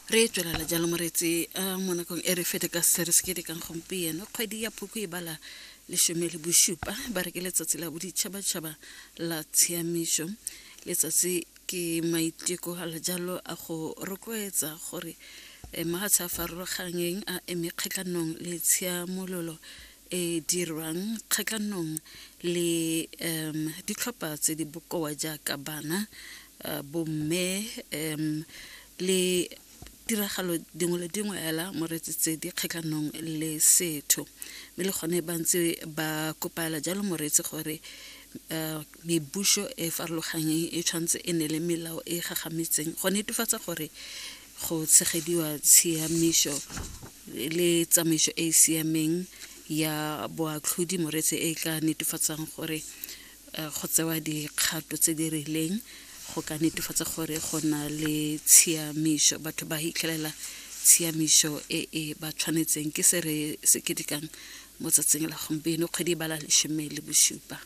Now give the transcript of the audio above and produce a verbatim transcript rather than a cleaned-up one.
Re tswelela jalo moretsi mo nakong e re fete ka se re se ketekang gompieno. Kgwedi ya Phukwi e bala lesome le bosupa, ba re ke letsatsi la boditšhabatšhaba la tshiamiso. Letsatsi ke maiteko a jalo a go rotloetsa gore mafatshe a farologaneng a eme kgatlhanong le tshiamololo e dirwang kgatlhanong le um ditlhopha tse di bokoa jaaka bana, bomme um le tiragalo dingwe le dingwe hela moretsi tse di kgatlhanong le setho. Mme le gone ba ntse ba kopela jalo moretsi gore mebuso e farologaneng e tshwanetse e nne le melao e gagametseng go netefatsa gore go tshegediwa tshiamiso le tsamaiso e e siameng ya boatlhodi moretsi e tla netefatsang gore go tsewa dikgato tse di rileng go ka netefatsa gore go na le tshiamiso, batho ba hitlhelela tshiamiso e e ba tshwanetseng. Ke se re se ketekang mo tsatsing la gompieno, kgwedi e bala lesome le bosupa.